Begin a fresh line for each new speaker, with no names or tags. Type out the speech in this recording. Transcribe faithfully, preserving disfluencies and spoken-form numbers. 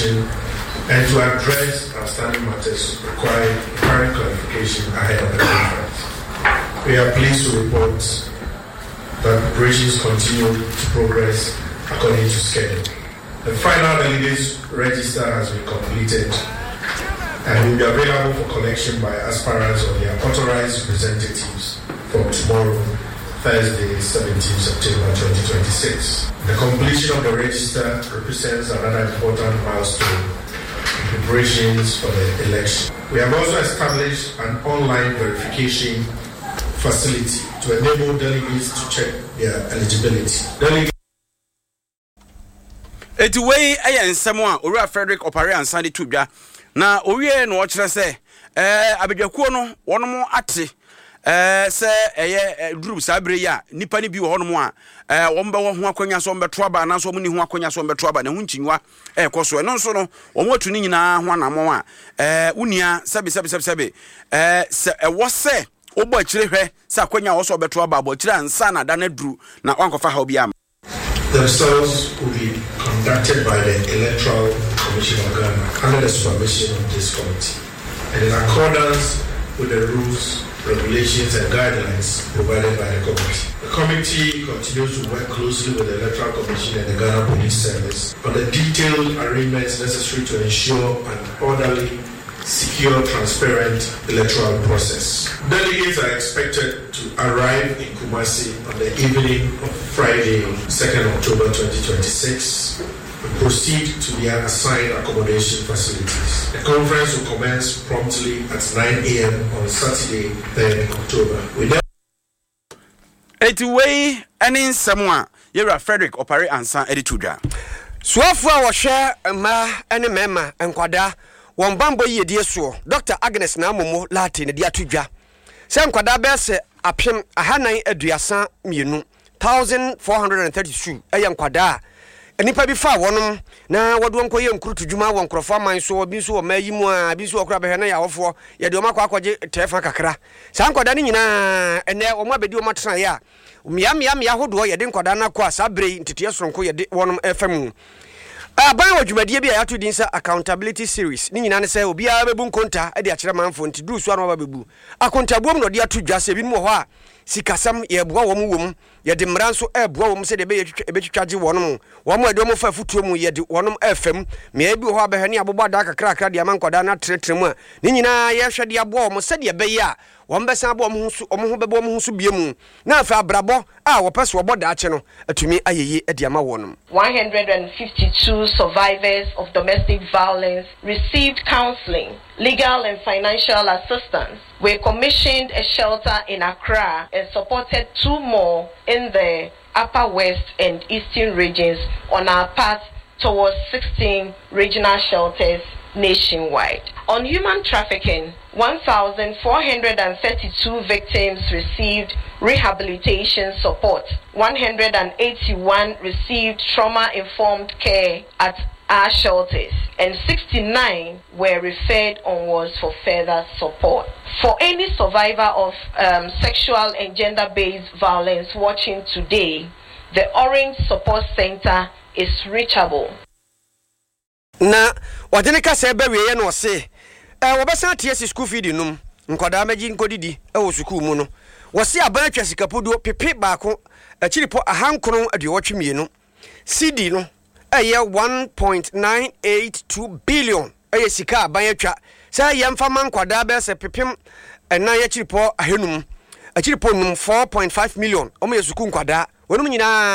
Commission and to address outstanding matters requiring, requiring clarification ahead of the conference. We are pleased to report that preparations continue to progress according to schedule. The final delegates register has been completed and will be available for collection by aspirants or their authorized representatives from tomorrow, Thursday, seventeenth September twenty twenty-six. The completion of the register represents another important milestone in preparations for the election. We have also established an online verification facility to enable delegates to check their eligibility. Delegates
Eti wei yɛ nsɛm a Owura Frederick Opare Ansa de to dwa na owie na ɔkyerɛ sɛ ɛɛ abadwakuo no wɔn ate ɛɛ sɛ ɛyɛ duru saa bere yi a nipa no bi wɔ hɔnom a ɛɛ wɔn bɛwɔ ho akɔnya so wɔn bɛto aba anaasɛ wɔn ni ho akɔnya so wɔn bɛto aba na ho nkyinwa ɛɛkɔ so. Ɛno nso no, wɔn atu ne nyinaa ho anammɔn a ɛɛ wunia sɛbi sɛbi sɛbi sɛbi ɛɛ sɛ ɛwɔ sɛ wobɔ akyire hwɛ sɛ akɔnya a wɔsɔ bɛto aba abɔ akyire ansa na ada no aduru na wankɔfa haw bi ama.
Themselves will be conducted by the Electoral Commission of Ghana under the supervision of this committee and in accordance with the rules, regulations, and guidelines provided by the committee. The committee continues to work closely with the Electoral Commission and the Ghana Police Service on the detailed arrangements necessary to ensure an orderly, secure, transparent electoral process. Delegates are expected to arrive in Kumasi on the evening of Friday, second October twenty twenty-six, and proceed to their assigned accommodation facilities. The conference will commence promptly at nine a m on Saturday, third October. We then
Eti wei ne nsɛm a yɛwura Frederick Opare Ansa de to dwa.
Soafoɔ a wɔhwɛ mmaa ne mmarima, nkwadaa, wɔn bambɔ yiedie soɔ, Doctor Agnes Naa Momo Lartey ne de ato dwa sɛ nkwadaa bɛyɛ sɛ apem ahanan aduasa mmienu, thousand four hundred and thirty-two, ɛyɛ nkwadaa a nnipa bi fa wɔnom na wɔde wɔn kɔyɛ nkurutu dwuma wɔ nkurɔfoɔ aman so, bi nso wɔ mmaa yi mu a bi nso wɔ kora bɛhwɛ na yɛ awɔfoɔ yɛde wɔn akɔ akɔgye tɛɛfa kakra. Saa nkwadaa no nyinaa, ɛnɛ wɔn abɛdi wɔn atenaeɛ a mmea mmea mmea ahodoɔ yɛde nkwadaa no akɔ a saa bere yi nteteɛ soronko yɛde wɔnom ɛfa mu. Aban wɔ dwumadie bi a yɛato din sɛ accountability series. Ne nyinaa ne sɛ obiara bɛbu nkonta de akyerɛ manfoɔ, nti duru so a na waba bɛbu akontabuom na ɔde ato dwa sɛ ebinom wɔ hɔ a sikasɛm yɛboa wɔn wɔ mu, yɛde mmara nso ɛɛboa wɔn sɛdeɛ ɛbɛyɛ ɛbɛtwitwa gye wɔn mu wɔn a yɛde wɔn fa afutuo mu, yɛde wɔn ɛɛfam mmeaeɛ bi wɔ hɔ a bɛhwɛ ne abobɔ adaa kakrakra de ama nkwadaa no atenatena mu a ne nyinaa yɛhwɛ de aboa wɔn sɛdeɛ ɛbɛyɛ a wɔn bɛsan abɔ wɔn ho so, wɔn ho bɛbɔ wɔn ho so bie mu na afei abrabɔ a wɔpɛ so wɔbɔ daakye no atumi ayɛ yie de ama wɔn.
one hundred fifty-two survivors of domestic violence received counseling, legal and financial assistance. We commissioned a shelter in Accra and supported two more in the Upper West and Eastern regions on our path towards sixteen regional shelters nationwide. On human trafficking, one thousand four hundred thirty-two victims received rehabilitation support, one hundred eighty-one received trauma informed care at our shelters, and sixty-nine were referred onwards for further support. For any survivor of um, sexual and gender based violence watching today, the Orange Support Center is reachable.
Na wɔde ne kasa bɛwieɛ na ɔse ɛ wɔbɛsan ate asi school feed nom nkwadaa mɛgye nkɔdidi wɔ sukuu mu no. Wɔse aban atwa sikapoduo pepe baako akyiripɔ ahankron aduɔwɔtwe mmienu cedi no ɛyɛ one point nine eight two billion, ɛyɛ sika aban atwa sɛ yɛmfa ma nkwadaa bɛyɛ sɛ pepem ɛnan akyiripɔ ahanum akyiripɔ num, four point five million, wɔn yɛ sukuu nkwadaa wɔn nyinaa.